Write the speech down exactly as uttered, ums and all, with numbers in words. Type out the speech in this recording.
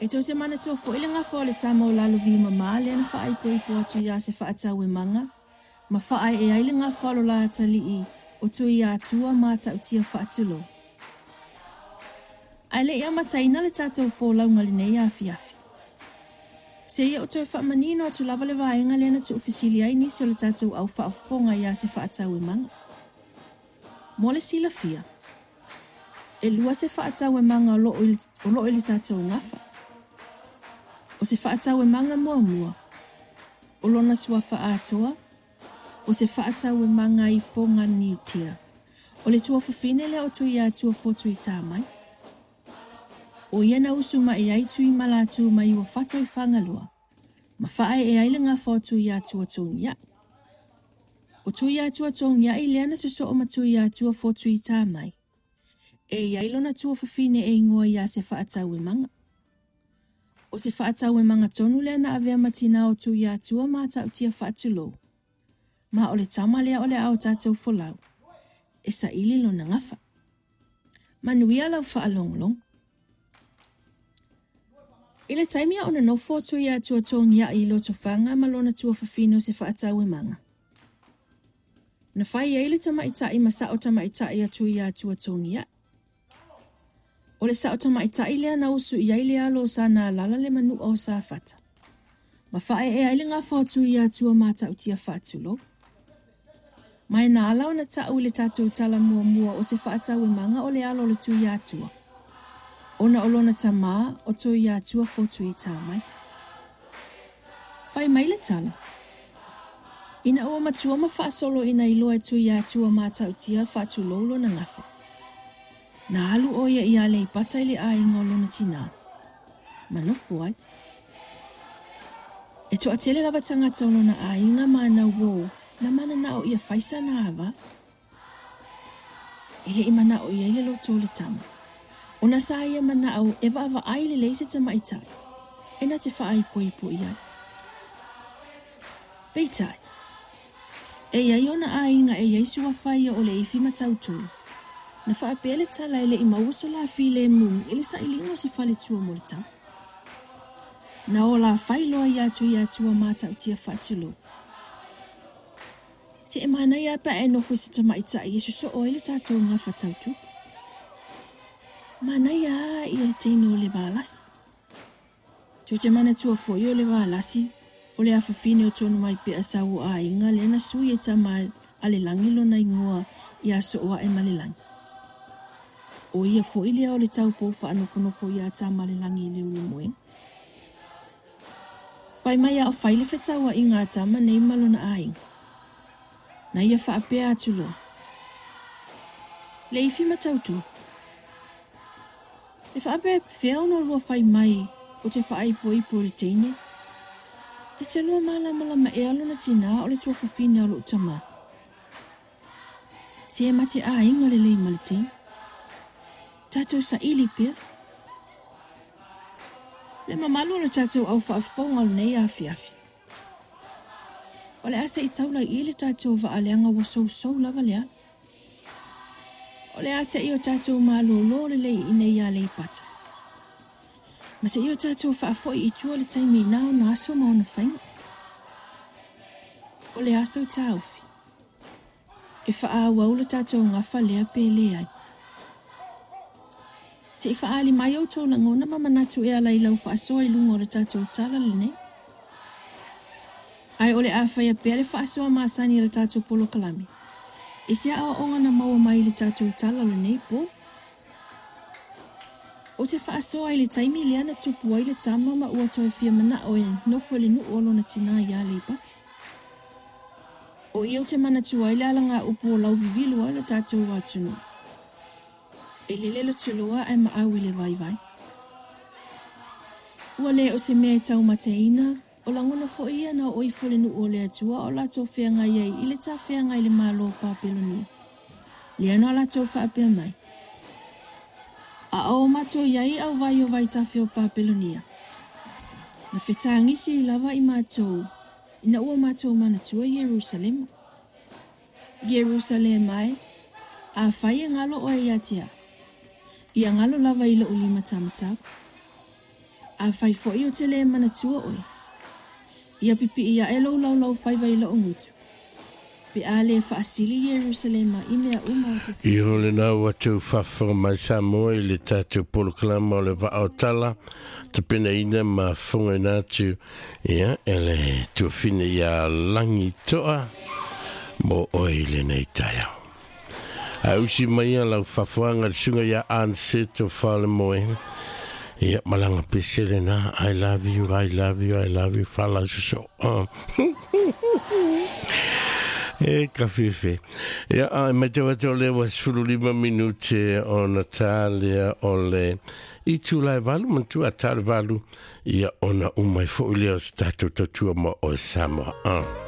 E tou te manatua foi le gafa o le tama o Lalovi-mama lea na faaipoipo atu iā Sefaatauemaga ma faaee ai le gafa o lo la atalii o Tuiatua Matautia Faatulou. Ae le i amataina le tatou folauga i lenei afiafi, se i ou toe faamanino atu lava le vaega lea na tuufesili ai nisi o le tatou au faafofoga iā Sefaatauemaga. Mo le silafia, e lua Sefaatauemaga o loo i le tatou gafa. O Sefaatauemaga muamua, o lona suafa atoa, o Sefaatauemaga i Foganiutia. O le tuafafine lea o Tuiatua Fotuitamai. O ia na usu mai ai Tuimalatu mai ua fata i Fagaloa, ma faaee ai le gafa o Tuiatua Togiai. O Tuiatua Togiai lea na sosoo ma Tuiatua Fotuitamai. E iai lona tuafafine e igoa ia Sefaatauemaga. O Sefaatauemaga tonu lea na avea ma tinā o Tuiatua Matautia Faatulou. Ma o le tama lea o le a o tatou folau, e saili lona gafa. Manuia lau faalogologo. I le taimi a o nonofo o Tuiatua Togiai i Lotofaga ma lona tuafafine o Sefaatauemaga, na fai ai le tamaitai ma sao tamaitai a Tuiatua Togiai. O le sao tamaitai lea na usu i ai le alo o Sanalala le manua o Safata, ma faaee ai le gafa o Tuiatua Matautia Faatulou. Ma e na ala ona tau i le tatou tala muamua o Sefaatauemaga o le alo o le Tuiatua, ona o lona tamā o Tuiatua Fotuitamai. Fai mai le tala, ina ua matua ma faasolo ina iloa e Tuiatua Matautia Faatulou lona gafa, na alu o ia i Aleipata i le aiga o lona tinā, ma nofo ai. E toatele lava tagata o lona aiga ma na uō na mananao ia faisa na ava. E le i manao i ai le loto o le tama. Ona sa ia manao e vaavaai lelei se tamaitai, e na te faaipoipo i ai. Peitai, e iai ona aiga e iai suafa ia o Leifi ma Tautolo. Na faapea le tala e le i maua so la filemu i le sailiga o se faletua mo le tama. Na o la fai loa ia Tuiatua Matautia Faatulou. Se e manaia pe a e nofo i se tamaitai e sosoo ai le tatou gafa tautupu. Manaia a ia le teine o le Valasi. Tou te manatua foi o le Valasi o le afafine o Tonumaipea sau o aiga lea na sui e tama a le lagi lona igoa ia Sooaemalelagi. O ia foi lea o le taupou faanofonofo ia Tamalelagi i le Ulumoega. Fai mai a o fai le fetauaiga a tama nei ma lona aiga. Na ia faapea atu loa, Leifi ma Tautolo, e faapefea ona lua fai mai o te faaipoipo i le teine? E te lua malamalama ea lona tinā o le tuafafine o lou tamā. Se e ma te aiga lelei ma le teine. Tatou saili pea. Le mamalu o le tatou au faafofoga o lenei afiafi. O le a se i taula i le tatou vaaleaga ua sousou lava le ala. O le a se i o tatou malōlō lelei i inei Aleipata. Ma se i o tatou faafoi i tua le taimi ina ona aso ma ona faiga. O le aso taofi, e faaauau le tatou gafa lea pe leai. Se i faaali mai outou lagona ma manatu e ala i lau faasoa i luga o le tatou tala lenei. Ae o le a faia pea le faasoa masani o le tatou polokalame, i se aoaoga na maua mai i le tatou tala o lenei po. O te faasoa i le taimi lea na tupu ai le tama ma ua toe fia manao e nofo i le nuu o lona tinā i Aleipata. O ia o te manatua ai le alagaupu o lauvivilu ai le tatou atunuu. E lele le tuloa ae maau i le vaivai. Ua le o se mea e taumateina, o lagona foi ia na oo ifo le nuu o le Atua o latou feagai ai i le tafeaga i le Malo o Papelonia. Lea na o latou faapea mai, A o matou iai auvai o vaitafe o Papelonia, na fetagisi lava i matou ina ua matou manatua Ierusalema. Ierusalema e, afai e galo oe ia te au, ia galo lava i lou lima taumatau. Afai fo'i ou te lē manatua oe, ia pipi'i aʻe lou laulau faiva i lo'u gutu, pe a lē fa'asili Ierusalema i mea uma o te Iho lena ua tou faafofoga mai Samoa i le tatou polokalama o le Vaa o Tala, tapenaina ma fofogaina atu ia e le tuafine ia Lagi Toa mo oe i lenei taeao. A usi mai ia lau faafofoga le susuga ia Anseto Falemoe. Ia malaga pese lena, I love you, I love you, I love you, faalausoso. E ka fefe. Ia, ai mai te watu o le wa sefulu lima minute ona tā lea o le itu lai valu, mantu a tā le valu, ia ona umai fo'i lea o se tatou tautua mo oe Samoa. Ah.